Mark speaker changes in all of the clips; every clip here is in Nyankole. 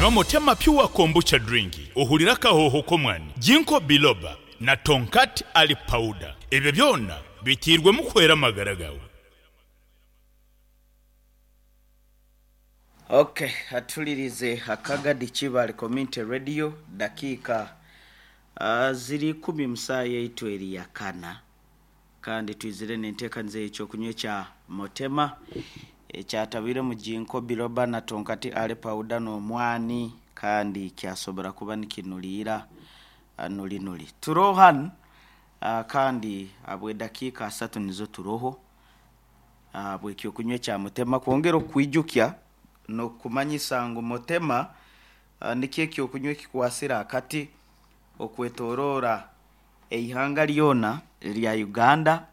Speaker 1: Nywa Motema Pure Kombucha Drink ohurire akahooho k'omwani, Ginkgo Biloba na Tongkat Ali Powder. Ebyo byona biteirwemu kuhwera amagara gaawe.
Speaker 2: Ok atulirize Akagadi Kibaale Community Radio dakiika ziri ikumi musaaha yaitu eri yakana kandi twizire nenteekaniza eyekyokunywa ekya Motema ekyatabwiremu Ginkgo Biloba na Tonkati Ale Powder nomwani kandi kyasobora kuba nikinuriira nuri nuri. Turoho hanu kandi ahabwedakiika asatu nizo turoho ahabw'eky'okunywa ekya Mutema kwongera okukwijukya n'okukumanyisa ngu Mutema nikyo eky'okunywa ekikwatsire akati okwetoroora eihanga ryona erya Uganda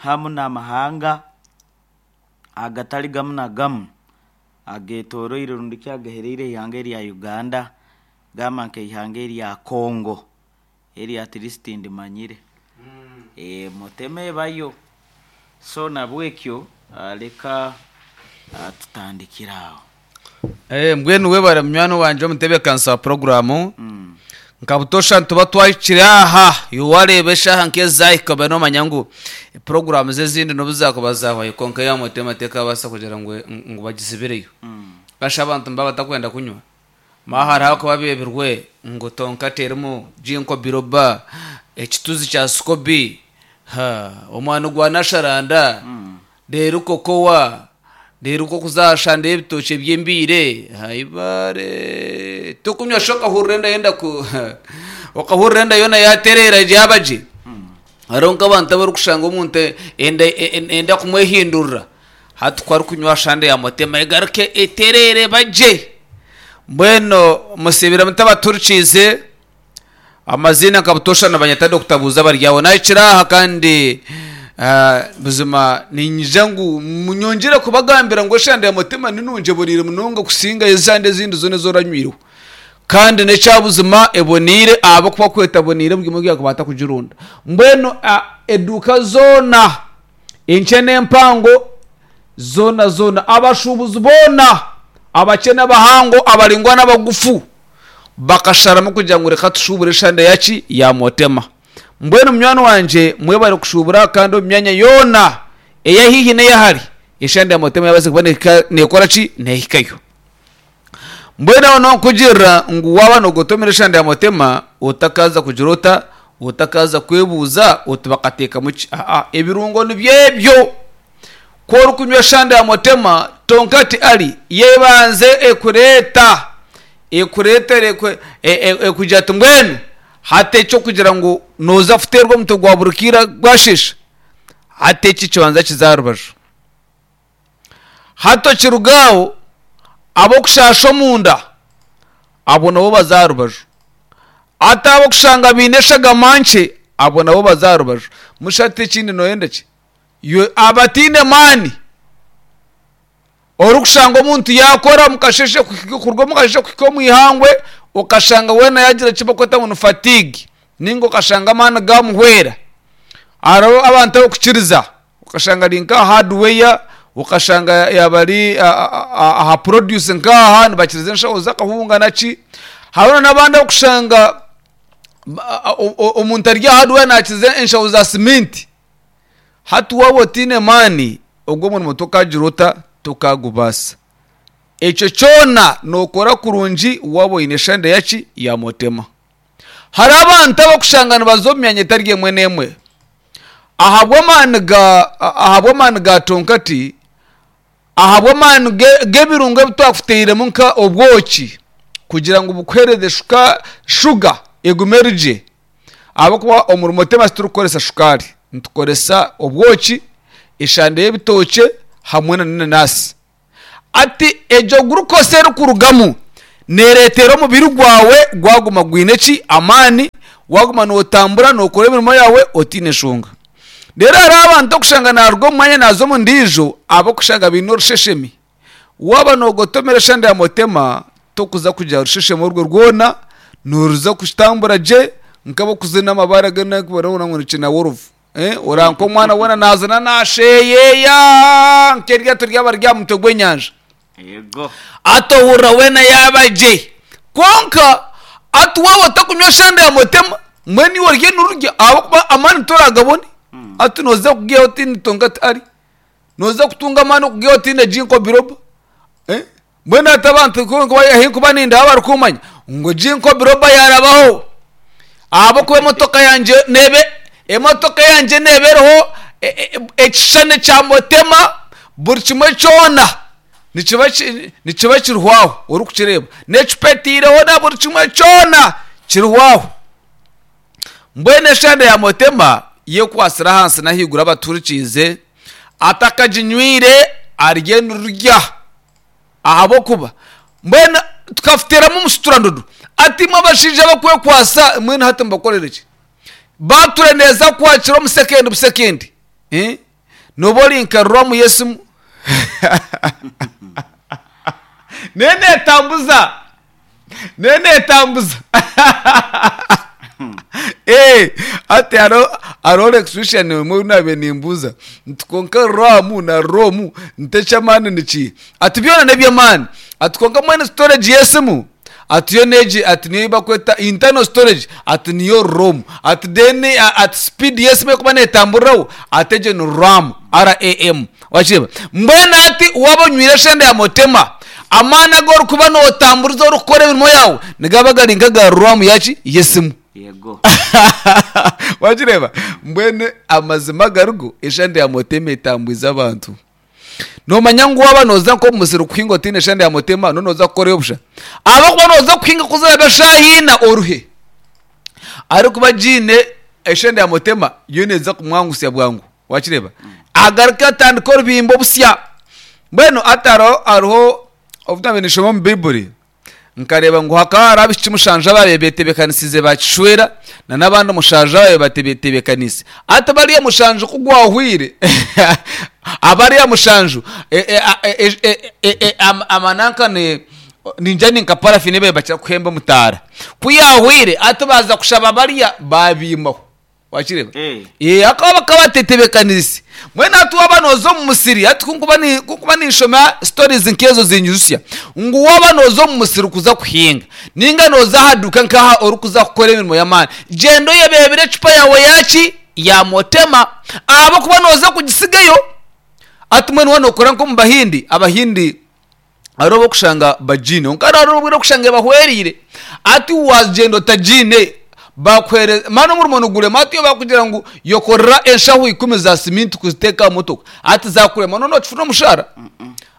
Speaker 2: hamu n'amahanga agatari gamu na gamu agetoroire rundi ki agahereire eihanga erya Uganda gamba nk'eihanga erya Congo. Eri at least ndimanyire. Mutema ebayo. So nabwekyo leka tutandikire aho.
Speaker 3: Mbwenu webare munywani wangye omutebeekanisa wa puroguraamu. Nka butoosha nituba twahikire aha, iwe waareeba eshaaha nk'ezi zaahika obe noomanya ngu puroguraamu ze ezindi n'obu zaakuba zaahwayo kwonka eya Mutema tekaabaasa kugira ngu ngu bagizibireyo. Kasha abantu nibaba batakwenda kunywa. Mwaha hariho abakuba beebirwe ngu tonka terimu ginkgo biloba, ekituzi kya sikobi, ha, omwani gwa nasharanda, reero kokowa, reero nk'okuza aha shande y'ebitookye by'embiire, haibaare! Tokunywa shi okahurira enda yenda ku okahurira enda yoona yaatereera yaaba gye. Hariho nk'abantu abarikushanga omuntu enda enda kumwehindurira. Hati ku arikunywa shande ya Mutema egaruke etereere eba gye. Mbwenu musiibire muta abaturikiize? Amaziina nka butoosha nibanyeta Dokita Buuza Baryaho. Nahikire aha kandi buzima niinyija ngu nyongyere kubagambira ngu eshande ya Mutema ni nungi eboneire munonga kusinga eshande ezindi zoona ezi oranywireho. Kandi n'ekya buzima eboneire ahabw'okuba ku etaboneire buri omwe yaakuba atakugironda. Mbwenu eduuka zoona. Enkye n'empango zoona zoona, abashuubuzi boona, abakye n'abahango, abaraingwa n'abagufu, bakasharamu kugira ngu reka tushuubure eshande ya ki? Ya Motema. Mbwenu munywani wangye mwebare kushuubura kandi omu myanya yoona eya haihi n'eya hare, eshande ya Motema yabaasa kuba neekora ki? Neehikayo. Mbwenu aho nonkugirira ngu waaba noogotomera eshande ya Motema, otakaaza kugira ota? Otakaaza kwebuuza oti bakateekamu ki? Aa, ebirungo nibyo ebyo. Ku orikunywa eshande ya Motema, tonka ti ari, yebanze ekureeta, ekureetere ekugira ati mbwenu hati eky'okugira ngu nooza kuteerwa omutwe gwa buri kaire gwasheesha, hati eki kibanza kize aha rubaju. Hati okiruga aho, ab'okushaasha omunda abo nabo baze aha rubaju. Hati ab'okushanga baine eshagama nkye abo nabo baze aha rubaju. Musha hati ekindi nooyenda ki? Iwe abataine maani, orikushanga omuntu yaakora omu kasheeshe kuruga omu kasheeshe kuhika omu ihangwe, okashanga weena yaagira eki barikweta ngu ni fatigue nainga okashanga amaani gaamuhwera. Hariho abantu ab'okukiriza. Okashanga ari nka aha hardware, okashanga yaaba ari aha produce nk'aha nibakiriza enshaho z'akahunga naki. Hariho n'abandi abu orikushanga omuntu ari aha hardware naakiriza enshaho za siminti. Hati waaba otaine maani, ogwo omurimo tokaagira ota? Tokaagubaasa. Ekyo kyona nookora kurungi waaba oine eshande yaki? Ya motema. Hariho abantu abarikushanga nibaza omu myanya etari emwe n'emwe ahabw'amaani ga ahabw'amaani ga tonkati, ahabw'amaani g'ebirungo ebi twakutairemu nka obwoki kugira ngu bukuheereze shuka shuga egume eri gye ahabw'okuba omuri Motema titurikukoresa shukaari, nitukoresa obwoki, eshande y'ebitookye hamwe n'enanasi. Ati, Egyo glucose erikurugamu neereetera omubiri gwawe gwaguma gwine ki? Amaani, waaguma nootambura nookora emirimo yaawe otaine nshonga. Reero hariho abantu okushanga naaruga omu mwanya naaza omu ndiijo ahabw'okushanga baine orusheshemi. Waaba noogotomera eshande ya motema, tokuza kugira rusheshemi orwo rwona, nooruza kutambura gye nk'abarikuzina amabaare agu barikugira ngu ni kinaworovu. Oraba nk'omwana weena naazina naasheyeeya nk'eryato ryaba riri aha mutwe gw'enyanja.
Speaker 2: Yego.
Speaker 3: Ati ohurira weena yaaba gye. Kwonka ati waaba otakunywa shanda ya mutema, mbwenu iwe orye nururya ahabw'okuba amaani toragabone. Ati nooza kugiihaho otiine tonkat ari, nooza kutunga amaani okugiihaho otiine ginkgo biloba. Mbwenu hati abantu ku ahi nkuba nindeeba barikumanya ngu ginkgo biloba yaarabaho ahabw'okuba emotoka yangye neeba emotoka yangye neeba eriho ekishushani kya mutema buri kimwe kyona nikiba nikiba kiriho aho orikukireeba n'ecupa etaireho na buri kimwe kyona kiriho aho. Mbwenu eshande ya Mutema yekwatsire ahansi n'ahaiguru abaturikiize, atakaginywire arye nirurya ahabw'okuba mbwenu tukafuteeramu omusuturandudu ati imwe abashaija abakwekwatsa mbwenu hati mbakorere ki? Bature neeza kukwakira omu sekendi busekendi eh? Nooba ori nka ruramu y'esimu nayo neetambuza nayo neetambuza Eh, hati hariho hariho electrician omwe ou naabaire nimbuuza nti kwonka ruramu na romu nti eky'amaani ni kiiha? Ati byona n'eby'amaani ati kwonka mbwenu storage y'esimu ati yo n'egi ati niyo ei barikweta internal storage ati niyo rom ati then ati speed y'esimu erikuba neetamburiraho ati egyo ni ram, RAM. Wakireeba? Mbwenu hati waaba onywire eshenda ya mutema, amaani agu orikuba nootamburiza orikukora emirimo yaawe nigaba gari nk'aga ram yaki? Y'esimu.
Speaker 2: Yego.
Speaker 3: Wakireeba? Mbwenu amazima agarigo, eshenda ya mutema etambwize abantu. Noomanya ngu waaba nooza nk'omu musiri kuhinga otaine shenda ya mutema, n'obu nooza kukorayo busha. Ahabw'okuba nooza kuhinga ku ziraabe eshaaha ina oruhe. Arikuba agiine eshenda ya mutema, yo neeza kumwangusya bwangu. Wakireeba? Agaruke atandike orubimbo busya. Mbwenu hati hariho hariho obu naabaire ninshoma omu Baiburi, Nkareeba ngu hakaba hariho abaishiki mushanju abaabaire beetebeekanisiize baakishwera, n'abandi mushanju abaabaire batebeetebeekaniise. Hati bariya mushanju ku gwahwaire, abariya mushanju amananka ningira ni nka parafini ei baabaire bakira kuhemba omu taara. Ku yaahwaire, hati baaza kushaba bariya, baabiimaho. Wakireeba?
Speaker 2: Eh.
Speaker 3: Eh, hakaba bakaba batetebekanise. Mbwenu hati waaba nooza omu musiri, hati ku nkuba ni- ku nkuba ninshoma stories nk'ezo zinyijutsya ngu waaba nooza omu musiri kuza kuhinga ninga nooza aha duuka nk'aha orikuza kukora emirimo y'amaani, gyenda oyebeebere ecupa yaawe yaaki? Ya motema ahabw'okuba nooza kugisigayo. Hati mbwenu waaba nookora nk'omu Bahindi, Abahindi hariho obu orikushanga bagiine kwonka hariho obu orikushanga ebahwereire. Hati waagyenda otagiine bakuheereza mani omurimo nigurema hati bakugira ngu yokorera enshaho ikumi za siminti kuziteeka aha motoka hati zaakurema nooba nookifuna omushaara?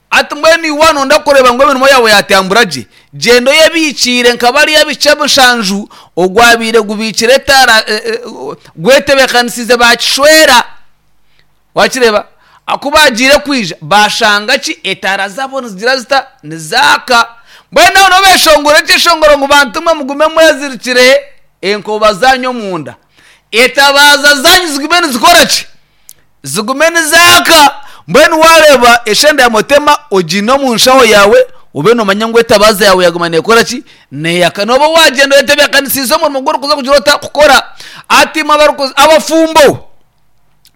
Speaker 3: Hati mbwenu iwe waaba nooyenda kureeba ngu emirimo yaawe yaatambura gye, gyenda oyebiikiire nka bariya abaishiki mushanju ogwabaire gubiikire etaara gwetebeekanisiize baakishwera. Wakireeba? Ku baagiire kwija, baashanga ki? Etaara zaabo nizigira zita? Nizaaka. Mbwenu aho niho beeshongora ekyeshongoro ngu, Bantu mwe mugume mwezirikire enkoba zaanyu omunda, etabaaza zaanyu zigume nizikora ki? Zigume nizaaka. Mbwenu waareeba eshenda ya mutema ogiine omu nshaho yaawe, obe noomanya ngu etabaaza yaawe yaaguma neekora ki? Neeyaka. Nooba waagyenda oyetebeekanisiize omurimo ogu orikuza kugira ota? Kukora. Hati imwe abarikuza, abafumbo,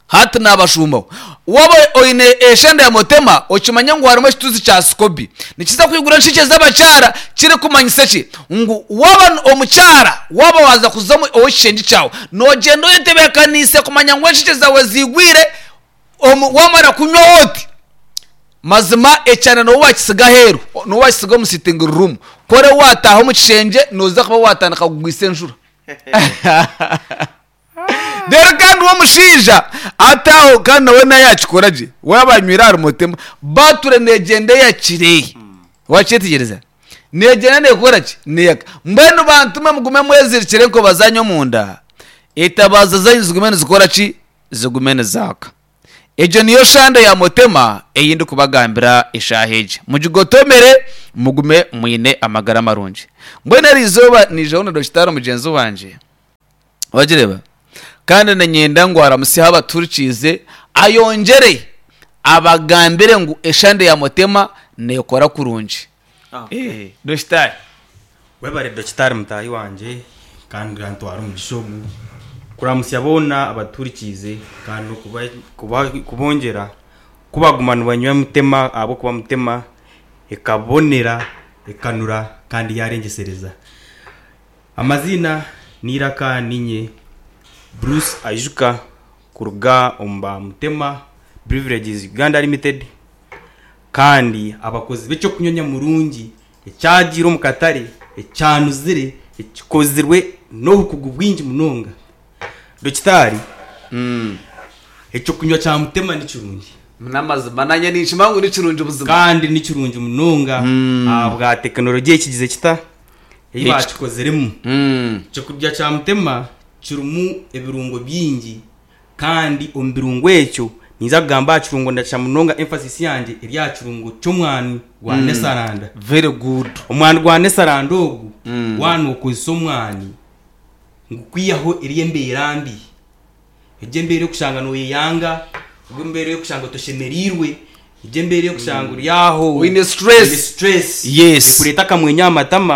Speaker 3: Hati naabashumbaho. Waaba oine eshenda ya mutema, okimanye ngu harimu ekituzi kya sikobi. Nikiza kwigura enshekye z'abakyara, kirikumanyisa ki? Ngu waaba omukyara, waaba waaza kuza omu ow'ekishengye kyawe, noogyenda oyetebeekaniise kumanya ngu enshekye zaawe ziigwire, omu waamara kunywaho oti, mazima ekyanda nooba waakitsiga aheeru, nooba waakitsiga omu sitting room. Ku orebe waataaha omu kishengye, nooza kuba waatandika kugwisa enjura. Reero kandi we omushaija ati aho kandi nawe nawe yakikora gye waaba anywire ahari mutema bature negyenda eyakire wakyetegyereza negyenda nekora ki neyaka mbwenu bantu mwe mugume mwezirikire enkoba zanyu omunda etabaza zanyu zigume nizikora ki zigume nizaaka egyo niyo shande ya mutema ei ndikubagambira eshaaha egi mugigotomere mugume mwine amagara marungi mbwenu eri izooba niijaho na dokitaari mugyenzi wangye Wagireeba? Kandi niinyenda ngu aramutsyeho abatuhurikiize, ayongyere abagambire ngu eshande ya Mutema neekora kurungi.
Speaker 2: Okay.
Speaker 3: Eh, Dokitaari.
Speaker 4: Webare Dokitaari mutaahi wangye kandi kantware omugisha ogu kuramutsya boona abatuhurikiize kandi n'okuba kuba kubongyera ku baguma nibanywa Mutema ahabw'okuba Mutema. Ekabonera, ekanura kandi yaarengyesereza. Amaziina n'eiraka niinye Bruce Aijuka kuruga omu ba Mutema Beverages Uganda Limited kandi abakozi b'eky'okunywa nyamurungi ekyagiire omu katare, ekyanuzire, ekikozirwe n'obukugu bwingi munonga. Dokitaari, Eky'okunywa kya Mutema ni kirungi.
Speaker 3: N'amazima nanye ninkimanya ngu ni kirungi buzima.
Speaker 4: Kandi ni kirungi munonga ahabwa tekinologiya ekigize kita? Ei baakikoziremu. Eky'okurya kya Mutema kirimu ebirungo bingi kandi omu birungo ekyo ninza kugamba aha kirungo ndakira munonga emphasis yangye eri aha kirungo ky'omwani gwa Nesaranda.
Speaker 3: Very good.
Speaker 4: Omwani gwa Nesaranda ogu waaba nookozesa omwani ngu kwihaho eri embeera mbi, egyo embeera ey'okushanga nooyeyanga, egyo embeera ey'okushanga otoshemereirwe, egyo embeera ey'okushanga ori aho
Speaker 3: Oine stress.
Speaker 4: oine stress
Speaker 3: Yes.
Speaker 4: ekureeta akamwenyo aha matama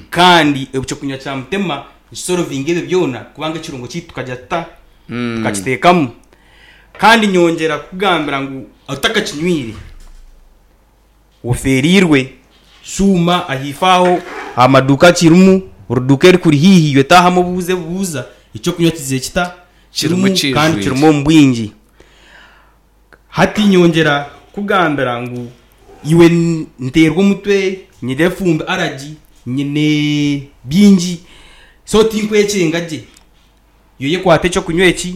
Speaker 4: kandi ekyokunywa kya Mutema nikisorovinga ebyo byona kubanga ekirungo kyaitu tukagira tuta? Tukakiteekamu. Kandi nyongyera kukugambira ngu otakakinywire, Ofeereirwe, shuuma ahaifo aho aha maduuka kirimu, oruduuka erikuri haihi iwe taahamu obuuze buuza eky'okunywa kizire kita?
Speaker 3: Kirimu
Speaker 4: Kirimu kandi
Speaker 3: kiijwire.
Speaker 4: kirimu omu bwingi. Hati nyongyera kukugambira ngu iwe nteerwa omutwe, nyine efumbi, allergy, nyine bingi so tinkwekyenga gye. Iwe yekwate eky'okunywa eki,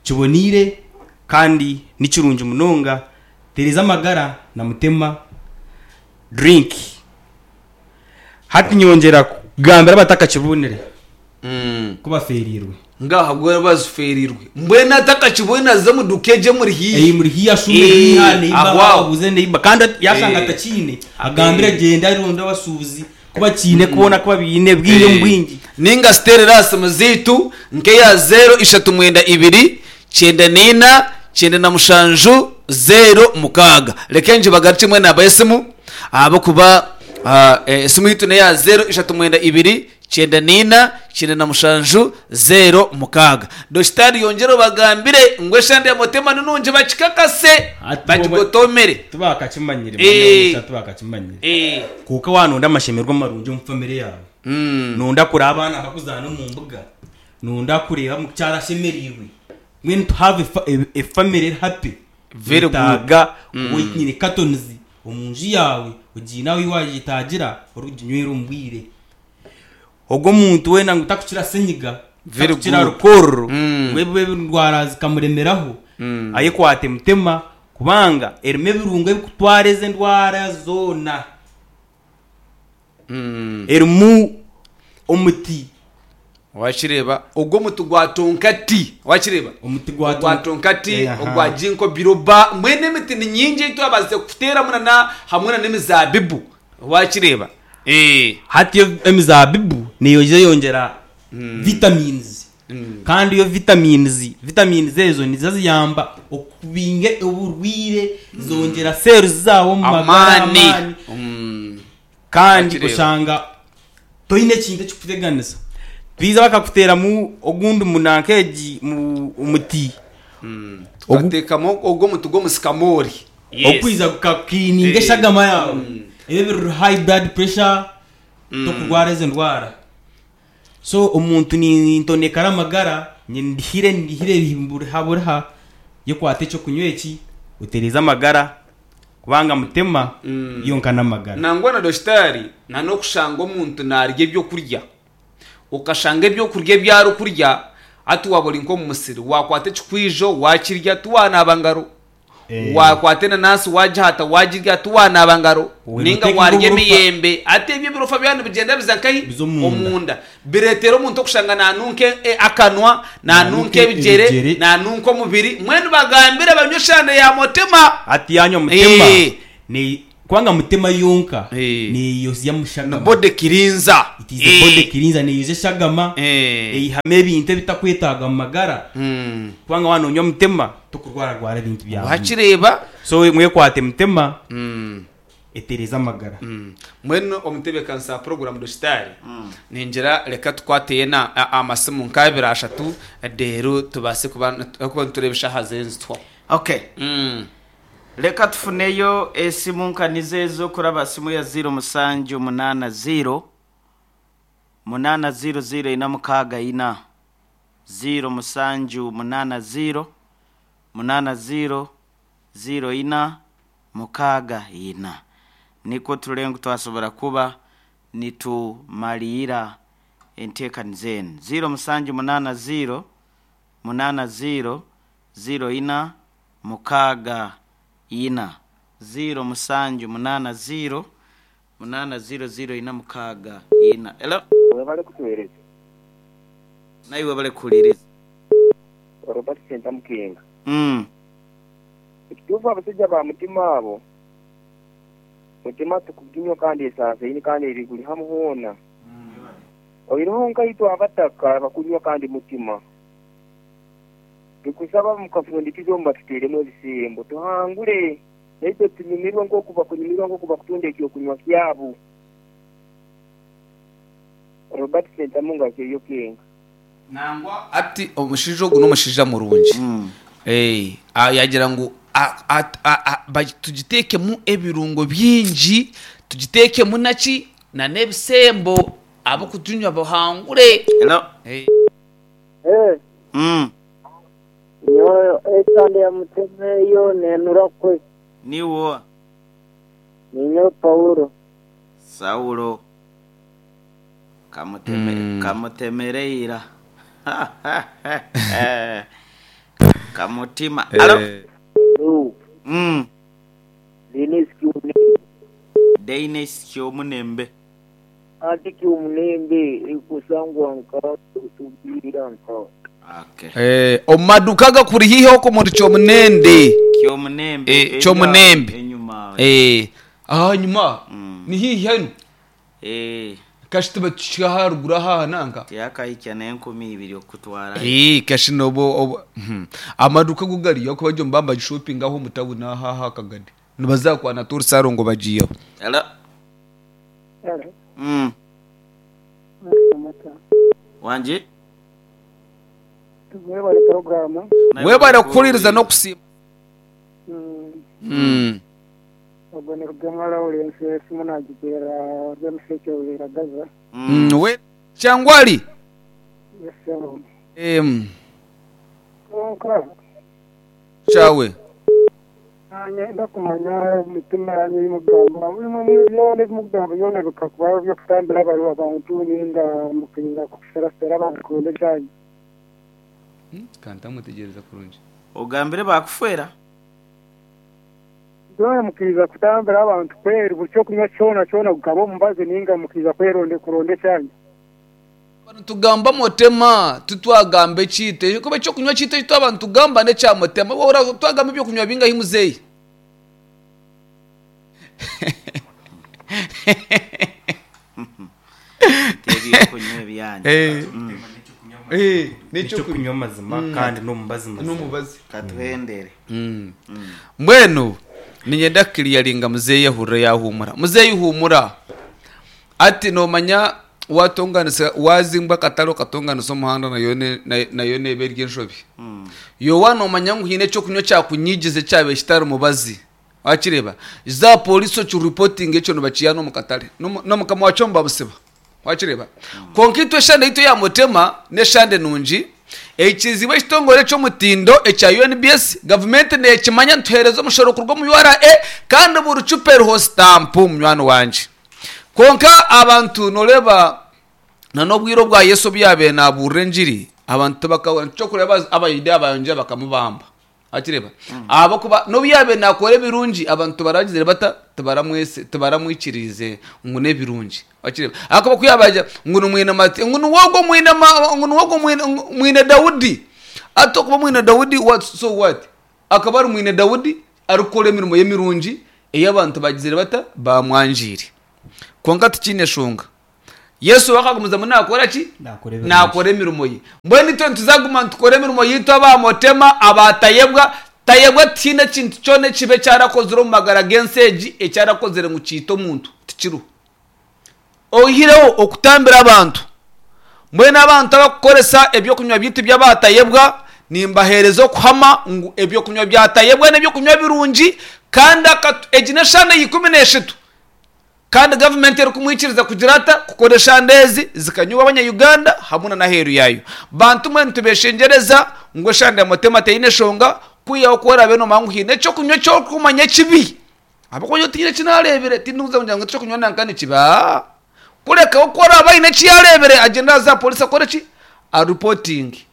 Speaker 4: kiboneire kandi ni kirungi munonga. Tereza amagara na Mutema drink. Hati nyongyera kugambira abatakakibonire ku bafeereirwe.
Speaker 3: Ngaha bwo bazifeereirwe. Mbwenu atakakibonire aze omu duuka egyo emuri haihi.
Speaker 4: Ei muri haihi ashuume haihi aha neiba
Speaker 3: Aho aho.
Speaker 4: abuuze neiba kandi yashanga atakiine agambire agyende aronde abashuubuzi ku bakiine boona ku babiine bwingi omu bwingi.
Speaker 3: Ninga ziteerere aha simu zaitu nk'eya zeero ishatu mwenda ibiri 94 97 06. Reka ngibagarukye mbwenu namba y'esimu ahabw'okuba esimu yaitu n'eya zeero ishatu mwenda ibiri 94 97 06. Dokitaari yongyere obagambire ngu eshande ya Motema ni nungi bakikakase
Speaker 4: Hati
Speaker 3: bagigotomere.
Speaker 4: Tibakakimanyire manya omusha tibakakimanyire. Kwonka waaba noyenda amashemererwa marungi omu famire yaawe, noyenda kureeba abaana bakuzaana omu mbuga, Nonda kureeba mukyara ashemereirwe mbwenu to have a family eri happy
Speaker 3: Very good.
Speaker 4: oyetaaga kuba oine cartons omu nju yaawe ogiine ahu wagyetaagira orikuginywera omu bwire. Ogwo omuntu weena ngu takukira senyiga,
Speaker 3: Very
Speaker 4: takukira
Speaker 3: good.
Speaker 4: rukororo ngu ebi endwara zikamuremeraho ayekwate mutema kubanga erimu ebirungo ebikutwara ezo endwara zoona. Erimu omuti.
Speaker 3: Wakireeba? Ogwo omuti gwa tonkati. Wakireeba?
Speaker 4: Omuti gwa
Speaker 3: Ogwa tonkati,
Speaker 4: Eh, aha.
Speaker 3: ogwa ginkgo biloba. Mbwenu emiti ni nyingi ei twabaasize kuteeramu na hamwe na n'emizaabibu. Wakireeba? Eh.
Speaker 4: Hati emizaabibu neija eyongyera vitamins kandi iyo vitamins, vitamins ezo nizo ziyamba okubinga oburwaire, zongyera cells zaawe omu magara
Speaker 3: Amaani.
Speaker 4: amaani. Kandi
Speaker 3: Wakireeba.
Speaker 4: oshanga toine ekintu ekikuteganisa. Twiza bakakuteeramu ogundi munanka egi omuti.
Speaker 3: Tukateekamu ogwo omuti gw'omusikamoori.
Speaker 4: Ogukwiza gukakiliininga eshagama yaawe. Ebi ebiri high blood pressure, tokurwara ezo ndwara. So omuntu nintonekara amagara, ndihire ndihire buriha buriha, yekwate ekyokunywa eki, otereeze amagara. Kubanga mutema yonka n'amagara.
Speaker 3: Nangwa na dokitaari na n'okushanga omuntu naarya ebyokurya, okashanga ebyokurya ebi arikurya hati waaba ori nk'omu musiri waakwata ekikwijo waakirya tiwanaaba ngaro, waakwata enanansi waagihata waagirya tiwanaaba ngaro,
Speaker 4: Weena
Speaker 3: nainga
Speaker 4: oteeka
Speaker 3: waarya
Speaker 4: nk'oburofa.
Speaker 3: emiyembe hati ebyo ebirofa byaba nibigyenda biza nkahi?
Speaker 4: Biza omunda.
Speaker 3: Omunda. Bireetera omuntu okushanga naanunka akanwa, naanunka
Speaker 4: Naanunka
Speaker 3: ebigyere,
Speaker 4: ebigyere.
Speaker 3: naanunka omubiri. Mbwenu bagambire banywe eshande ya Mutima.
Speaker 4: Hati yaanywa Mutima,
Speaker 3: Eh.
Speaker 4: ne- kubanga Mutima yonka
Speaker 3: Eh.
Speaker 4: neeyozya
Speaker 3: Ni
Speaker 4: mushagama.
Speaker 3: body cleanser.
Speaker 4: It is a body cleanser, neeyozya eshagama,
Speaker 3: Eh.
Speaker 4: eihamu ebintu ebitakwetaaga mu magara. Kubanga waaba noonywa Mutima, tokurwararwara ebintu bya buri.
Speaker 3: Wakireeba?
Speaker 4: So mwekwate Mutima. Etereeza amagara.
Speaker 3: Mbwenu omutebeekanisa wa puroguraamu Dokitaari, ningira reka tukwate yeena amasimu nk'abiri ashatu reero tubaase kuba nitureeba eshaaha ziriyo nizituhwaho.
Speaker 2: Okay. Leka tufuneyo esimu nkanizo ezo kuraba simu ya 0 musanju munaana 0 munaana 0 0 ina mukaaga ina 0 musanju munaana 0 munaana 0 0 ina mukaaga ina. Nikwo turebe ngu twasobora kuba nitumariira enteekaniza enu. 0 musanju munaana 0 munaana 0 0 ina mukaaga ina. 0 musanju munaana 0 munaana 0 0 ina mukaaga ina. Hello?
Speaker 5: Webale kutuwereza.
Speaker 2: Naiwe webale kuhuliriza.
Speaker 5: Robert Sentamu Kenga. Ekituufu abasaija ba Mutima abo, Mutima tikuginywa kandi esansaine kandi eri buli hamu hoona. Oihireho nkaitwe abataka abakunywa kandi Mutima. Tukusaba mukafundikiza omu batuteeremu ebisembo tuhangure naitwe tunyumirwe nk'oku bakunyumirwa nk'oku bakutunda eky'okunywa kyabo. Robert Sentamu Ngakyeyo Kenga.
Speaker 3: Nangwa ati omushaija ogu n'omushaija murungi. Eh, ah, yagira ngu a- a- a- a- ba- tugiteekemu ebirungo bingi, tugiteekemu naki na n'ebisembo ab'okuginywa bahangure.
Speaker 2: Hello.
Speaker 3: Eh.
Speaker 6: Eh, nyowe esande ya mutima eyo nenura kwe.
Speaker 2: Niiwe oha?
Speaker 6: Ninyowe Paulo.
Speaker 2: Saulo kamutemere ira. Kamutima. Alo.
Speaker 6: Hello. Denis Kyomunembe.
Speaker 2: Denis Kyomunembe.
Speaker 6: Anti Kyomunembe ekusangwa nka otubiira nka.
Speaker 2: Okay.
Speaker 3: Eh, omu maduuka agakuri haihi okwo omuri Kyomunende.
Speaker 2: Kyomunembe.
Speaker 3: Eh,
Speaker 2: eri
Speaker 3: Kyomunembe.
Speaker 2: aho enyuma.
Speaker 3: Eh, ahanyuma ni haihi hanu.
Speaker 2: Eh.
Speaker 3: Kashi tuba tukihika aharuguru aha nanka.
Speaker 2: Tiyakahikya n'enkumi ibiri okutwara.
Speaker 3: Eh, kashi nobo obo amaduuka go gariyo ahakuba gyo nibaba nibagishopinga aho omu tawuni aha aha akagade. Nibaza kwana Torisaro ngu bagiiheho.
Speaker 2: Hello.
Speaker 6: Hello. Wangi? Mwebale puroguramu.
Speaker 3: Webale kuhuririza n'okusiima.
Speaker 6: Ogwo ni Rugemwa Lawrence esimu nagiteera Rwemushekye Rwiragaza.
Speaker 3: We Kyangwali.
Speaker 6: Yes sebo. Kwonka.
Speaker 3: Kyawe.
Speaker 6: Niinyenda kumanya emitima yaanyu ei mukugamba. Imwe byona ebi mukugamba byona bikakuba eby'okutambira abantu nainga mukaija kuferafera abantu kuronda ebyanyu?
Speaker 3: Ka ntamwetegyereza kurungi.
Speaker 2: Ogambire baakufeera?
Speaker 6: Byona mukaija kutambira abantu kweri buri ky'okunywa kyona kyona gukaba omubazi nainga mukaija kuronda ekyanyu?
Speaker 3: Twaba nitugamba motema, titwagamba ekiita. Ahakuba eky'okunywa kyaitu eki twaba nitugamba n'ekya motema. Waahurira twagamba eby'okunywa bingahi muzeeyi?
Speaker 2: Ti eby'okunywa ebyanyu.
Speaker 4: N'eky'okunywa amazima kandi n'omubazi mazima.
Speaker 3: N'omubazi.
Speaker 2: Katuhendere.
Speaker 3: Mbwenu niinyenda kukiriyaringa muzeeyi ahurire yaahuumura. Muzeeyi huumura. Hati noomanya waatonganisa waazimba akatare okatonganisa omuhanda nayo nayo neeba eri enshobi. Iwe waaba noomanya ngu haine eky'okunywa ekyakunyigize ekyabaire kitari mubazi, waakireeba, za aha pooriisi okiripotinge ekyo nibakiiha n'omu katare. Na mukama waakyo nibamusiba. Wakireeba? Kwonka itwe eshande yaitu eya Mutema n'eshande nungi, eikirizibwe ekitongore eky'omutindo ekya UNBS, gavumenti neekimanya nituheereza omushoro kuruga omu URA kandi buri cupa eriho sitampu munywani wangye. Kwonka abantu nooreeba na n'obwire obwa Yesu obu yaabaire naabuurira engiri, abantu tibakahurira. Nikyo orikureeba Abayudaaya baayongyera bakamubamba. Wakireeba? Ahabw'okuba n'obu yaabaire naakora ebirungi, abantu tibaragizire bata? Tibaramwesi, tibaramwikiriize ngu n'ebirungi. Wakireeba? Ahakuba ku yaabaire agira ngu ni mwine Mati, ngu niwe ogwo mwine ma, ngu niwe ogwo mwine, mwine Daudi. Hati okuba mwine Daudi, what, so what? Akaba ari mwine Daudi arikukora emirimo ye mirungi ei abantu baagizire bata? Baamwangiire. Kwonka tikiine shonga. Yesu we akagumizamu naakora ki?
Speaker 4: Naakora ebirungi.
Speaker 3: Naakora emirimo ye. Mbwenu itwe nituzaguma nitukora emirimo yaitu aba Motema, aba Tayebwa. Tayebwa tihaine ekintu kyona ekibi eki arakozire omu magara g'ensi egi eki arakozire ngu kiite omuntu. Tikiriho. Oihireho okutambira abantu. Mbwenu abantu abarikukoresa eby'okunywa byaitu by'aba Tayebwa, nimbaheereza okuhama ngu eby'okunywa bya Tayebwa n'eby'okunywa birungi Kandi akatu, egi n'eshande ya 13 kandi gavumenti erikumwikiriza kugira ata? Kukora eshande ezi zikanyweebwa abanya-Uganda hamwe na n'aheeru yaayo. Bantu mwe nitubeshengyereza ngu eshande ya Mutema teine eshonga kwihaho ku oraabe nomanya ngu haine ekyokunywa eki orikumanya ekibi ahabw'okuba nyowe tihaine eki naareebire tindikuza kugira ngu ekyokunywa nanka nikibi aa kureka we ku oraabe aine eki yaareebire agyende aze aha pooriisi akore ki? Aripotinge.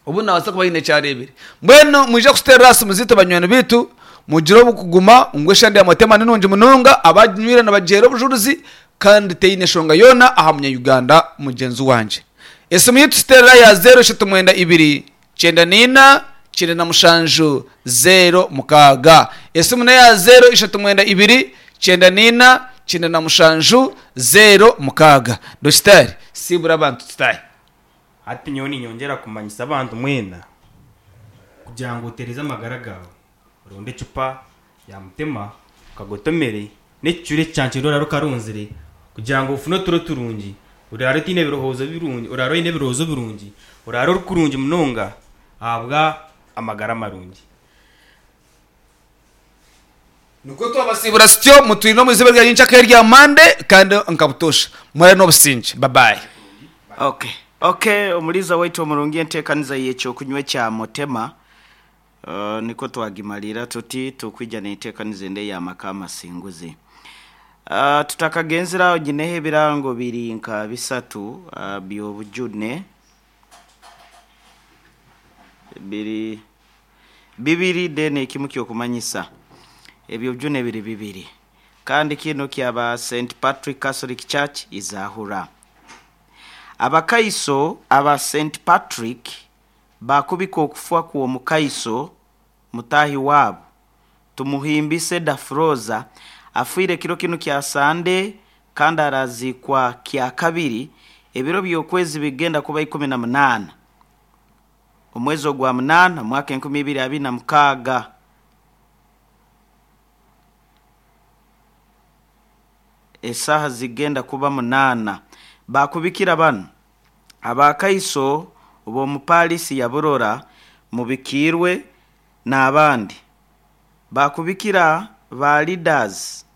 Speaker 3: Obu naabaasa kuba haine eki areebire. Mbwenu mwije kututeerera aha simu zaitu banywani baitu, mugire obukuguma ngu eshande ya Mutema ni nungi munonga, abaginywire nibagiheera obujurizi kandi teine nshonga yoona aha munya-Uganda mugyenzi wangye. Esimu yaitu tuteerera ya zeero ishatu mwenda ibiri, kyenda naina, kyenda na mushanju, zeero mukaaga. Esimu n'eya zeero ishatu mwenda ibiri, kyenda naina, kyenda na mushanju, zeero mukaaga. Dokitaari, siibura abantu tutaahe.
Speaker 4: Hati nyowe niinyongyera kumanyisa abantu mwena kugira ngu otereeze amagara gaawe, oronde ecupa ya Mutema okagotomere n'ekicuri ekicancire oraare okarunzire kugira ngu ofune oturo turungi, oraare otaine birowoozo birungi, oraare oine ebirowoozo birungi, oraare ori kurungi munonga ahabwa amagara marungi.
Speaker 3: Nikwo twabasiibura sityo mutwine omu izooba rya nyenkya erya Monday kandi nka butoosha murare n'obusingye. Bye bye.
Speaker 2: Okay. Okay, omuliiza waitu omurungi enteekaniza y'ekyokunywa ekya Mutema uh, nikwo twagimaliira tuti tukwija n'enteekaniza endi ey'amaka amasinguzi. Uh, tutakagenzire aho nyineho ebirango biri nka bisatu uh, by'obujune biri Bibiri then ekimu ky'okumanyisa ebyo byona biri bibiri. Kandi kinu kyaba Saint Patrick Catholic Church Izahura. Abakaiso aba Saint Patrick baakubika okufwa kw'omukaiso mutaahi waabo Tumuhimbise Dafroza afiire kiro kinu kya Sande kandi araziikwa Kyakabiri ebiro by'okwezi bigenda kuba 18. Omwezi ogwa munaana, omwaka 2026, esaaha zigenda kuba munaana, baakubikira banu, Abakaiso b'omu Paarisi ya Burora mubikiirwe n'abandi. Baakubikira ba Leaders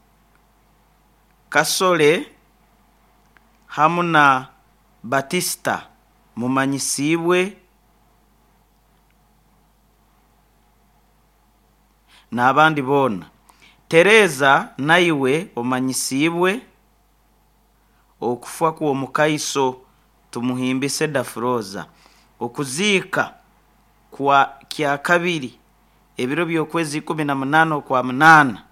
Speaker 2: Kasole hamu na Batista mumanyisiibwe n'abandi boona. Tereza naiwe omanyisiibwe okufa kw'omukaiso Tumuhimbise Dafroza. Okuziika kwa Kyakabiri ebiro by'okwezi 18 Okwamunaana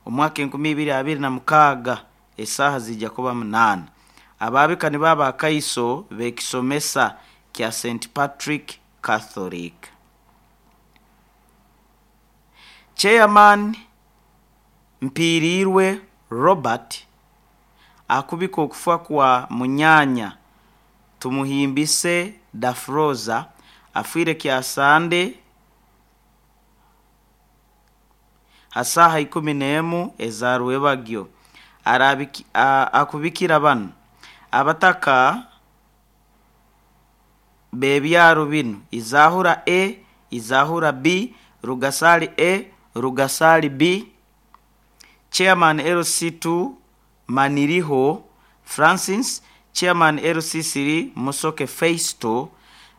Speaker 2: omwaka 2026 Esaaha ziija kuba munaana. Abaabika nibo abakaiso b'ekisomesa kya Saint Patrick Catholic. Chairman Mpiiriirwe Robert akubika okufa kwa munyaanya Tumuhimbise Dafroza afiire Kyasande Ha saaha 11 eza rwebagyo, akubikira banu, Abataka b'ebyaro binu, Izahura A, Izahura B, Rugasali A, Rugasali B, Chairman LC2 Maniriho Francis, Chairman LC3 Musoke Feisto,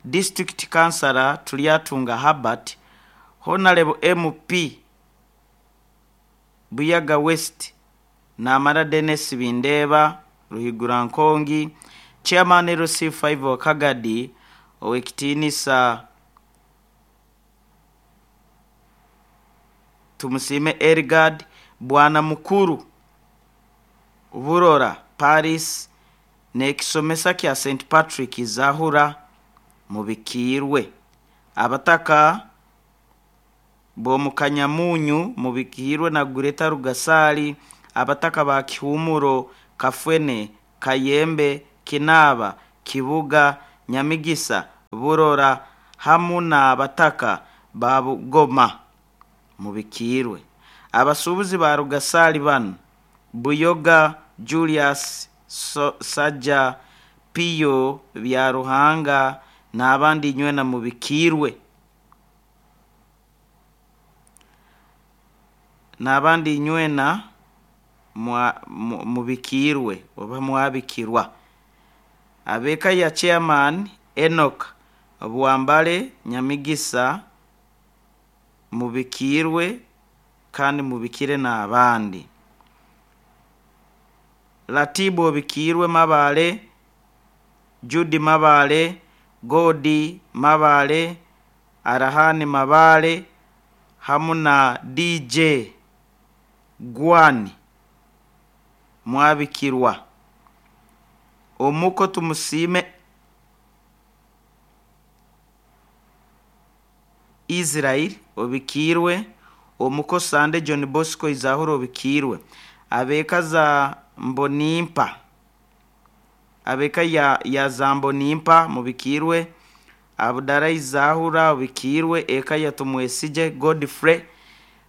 Speaker 2: District Councillor Turyatunga Herbert, Honarebo MP Buyaga West Namara Denis Bindeeba, Ruhigura Nkongi, Chairman LC5 Wakagadi, Owekitiinisa Tumusiime Ergard, Bwana Mukuru Burora Paris n'ekisomesa kya Saint Patrick Zahura mubikiirwe. Abataka b'omu Kanyamunyu mubikiirwe na Gureta Rugasaali, abataka ba Kihumuro, Kafwene, Kayembe, Kinaaba, Kibuga, Nyamigisa, Burora hamu n'abataka ba Bugoma mubikiirwe. Abasuubuzi ba Rugasaali banu, Buyoga Julius Saja, Piyo Byaruhanga n'abandi inywena mubikiirwe. N'abandi inywena mubikiirwe oba mwabikirwa. Ab'eka ya Chairman Enock Bwambale Nyamigisa mubikiirwe kandi mubikire n'abandi. Ratibu obikiirwe Mabale, Judy Mabale, Godi Mabale, Arahani Mabale hamu na DJ Gwani mwabikirwa. Omuko Tumusiime Israel obikiirwe, omuko Sande John Bosco Izahura obikiirwe. Ab'eka za Mbonimpa ab'eka ya, ya za Mbonimpa mubikiirwe, Abudara Izahura obikiirwe, eka ya Tumwesigye Godfrey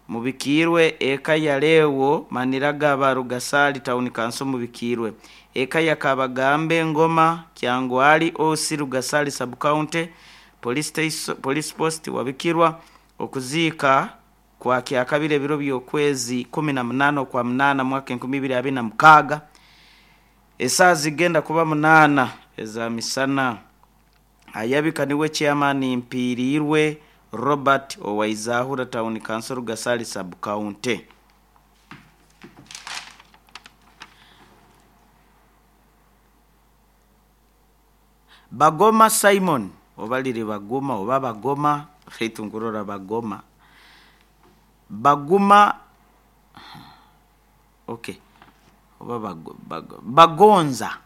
Speaker 2: mubikiirwe, eka ya Lewo Maniragaba Rugasari Town Council mubikiirwe, eka ya Kabagambe Ngoma Kyangwali OC Rugasari Sub County Police, Station, Police Post wabikirwa. Okuziika kwa kyakabiri ebiro by'okwezi 18 okwa 8 mwaka 2026 esaaha zigenda kuba 8 eza misana. Ayabika niwe Chairman Mpiiriirwe Robert owa Izahura Town Council Rugasari Sub County. Bagoma Simon oba riri Baguma oba Bagoma beitu nkurora Bagoma Baguma okay oba bago, bago, Bagonza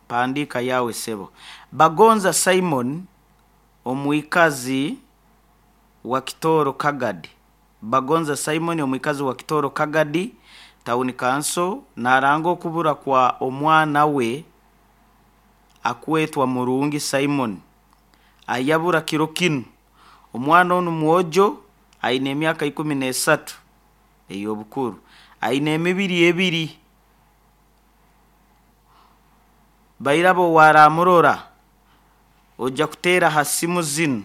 Speaker 2: mpandiika yawe sebo Bagonza Simon omwikazi wa Kitooro Kagadi Bagonza Simon omwikazi wa Kitooro Kagadi Town Council naranga okubura kwa omwana we akwetwa Murungi Simon ayabura kiro kinu. Omwana onu mwojo aine emyaka 13 ey'obukuru, aine emibiri ebiri. Bairabo waramurora ojja kuteera ha simu zinu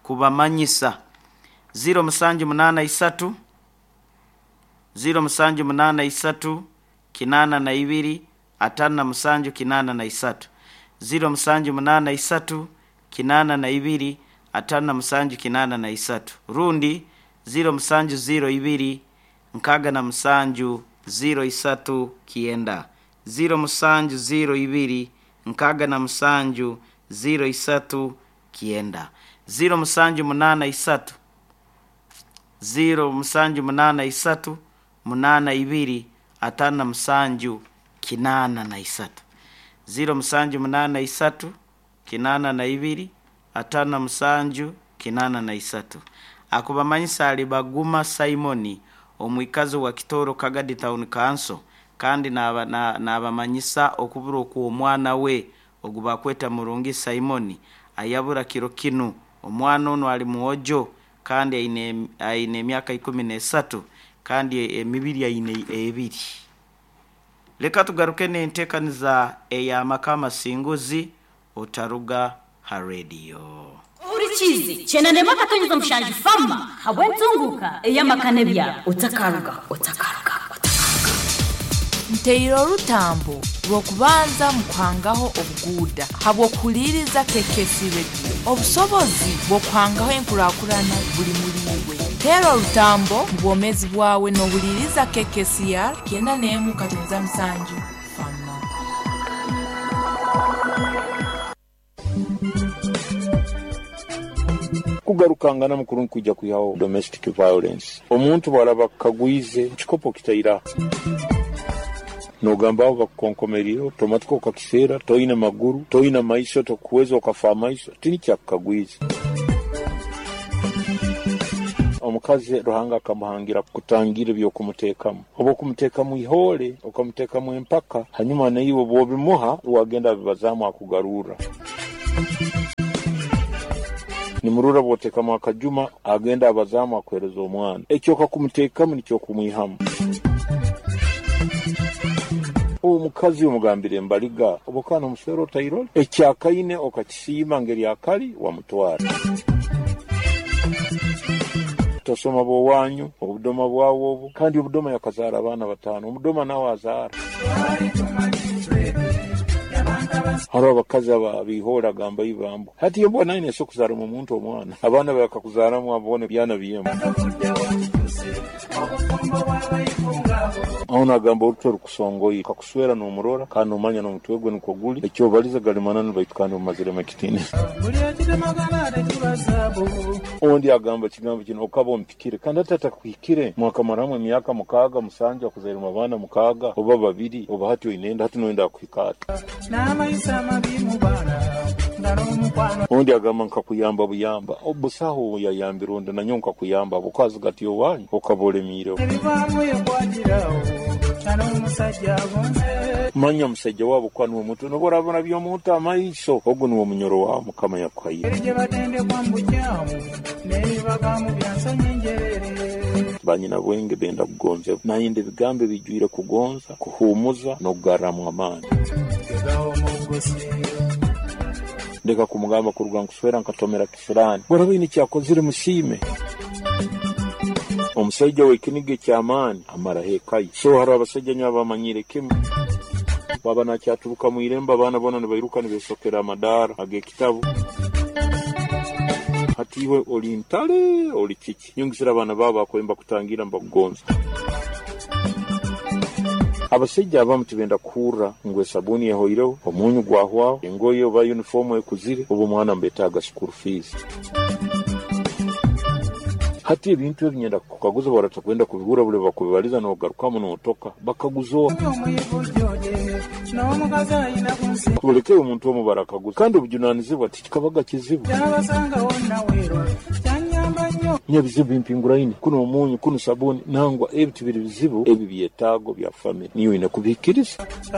Speaker 2: kubamanyisa 0783 0783 82 57 83 0783 82 57 83 rundi 0702 67 03 9 0702 67 03 9 0783 0783 82 57 83 0783 82 57 83 akubamanyisa ali Baguma Simoni omwikazi wa Kitooro Kagadi Town Council kandi nabamanyisa okubura okw'omwana we ogu bakweta Murungi Simoni ayabura kiro kinu. Omwana onu ali mwojo kandi aine emyaka 13 kandi emibiri aine ebiri. Leka tugaruke n'enteekaniza ey'amaka amasinguzi otaruga ha rediyo.
Speaker 7: Ohurikiize kyenda akatonyeza mushanju fama habw'entunguka ey'amaka n'ebyaro. Otakaruga, otakaruga, otakaruga.
Speaker 8: Nteire orutambo rw'okubanza mu kuhangaho obuguuda habw'okuhuliriza KKC Radio. Obusobozi bw'okuhangaho enkurakurana buli muri iwe. Teera orutambo mu bwomeezi bwawe n'ohuliriza KKCR 91.7 Fama.
Speaker 9: Kugarukangana mukuru nkwija kwihaho domestic violence. Omuntu bw'araba akukagwize ekikopo kitaira nogamba aho bakukonkomerire otomatika okakiseera toine maguru toine maiso tokuweza okafa amaiso tinikyakukagwize. Omukazi Ruhanga akamuhangira kutangira ebyokumuteekamu, oba okumuteekamu ihoole okamuteekamu empaka, hanyuma naiwe bw'obimuha wagenda abibazaamu akugarurra. Nimurura bw'oteekamu akajuma agenda abazaamu akuheereza omwana. Ekyo okakumuteekamu nikyo okumwihamu. Omukazi omugambire embaliga oba okaba nomuswera otairole, ekyakaine okakisiima ngeri akali wamutwara. Tosoma b'owanyu. Obudoma bwawe obu kandi obudoma yakazaara abaana 5, omudoma nawe azaara. Hariho abakazi abihoora agamba ibambo hati embwa nayo neesobola kuzaaramu omuntu omwana, abaana bakakuzaaramu abo boona byana by'embwa. Aho nagamba orutwe rukusongoire, kakuswera n'omurora kandi nomanya n'omutwe gwe nikwo guli, ekyobaliza gali mananu baitu kandi omumaziremu ekitiinisa. Ondi agamba ekigambo kinu, okaba ompikire, kandi hati atakuhikire, mwakamaramu emyaka 6, 7, akuzairemu abaana 6 oba 2, oba hati oine enda, hati noyenda akuhika ata? Ondi agamba nkakuyamba buyamba, busaho yayambire ondi, nanyowe nkakuyamba, habwokuba gati owanyu okaba olemiireho. Manya omusaija waabo kuba niwe mutwe, nobu oraaba by'omuntu amaiso, ogu niwe munyoro wawe Mukama yakuhaire. Banyina bwenge benda kugonzebwa, nayenda ebigambo ebijwire kugonza, kuhuumuza n'okugarramu amaani. Ndeka kumugamba kuruga nkuswera nkatomera kisiraani, bworaba oine ekyakozire musiime. Omusaija w'ekiniga eky'amaani amaraho eka ye. So hariho abasaija nyowe abamanyire kimu, baba nakyaturuka mu irembo abaana boona nibairuka nibesokera amadaara ag'ekitabu. Hati iwe oli ntale oli kiki? Nyongesera abaana baabo bakubaire nibakutangira nibakugonza. Abasaija abamu tibenda kuhurra ngu esabuuni ehoireho, omunyu gwahwaho, engoye oba yunifoomu ekuzire, oba omwana nibetaaga school fees. Hati ebintu ebi nyenda kukaguza baratakwenda kubihurra buli bakubibaliza n'ogarukamu n'otoka, bakaguza oha? Tuleke omuntu omu barakaguza, kandi obujunanizibwa tikikabaga kizibu. Nyebizibu bimpinguraine, kunu omunyu, kunu sabuuni, nangwa ebi tibiri bizibu, ebi byetaago bya family, niiwe oine kubihikiriza.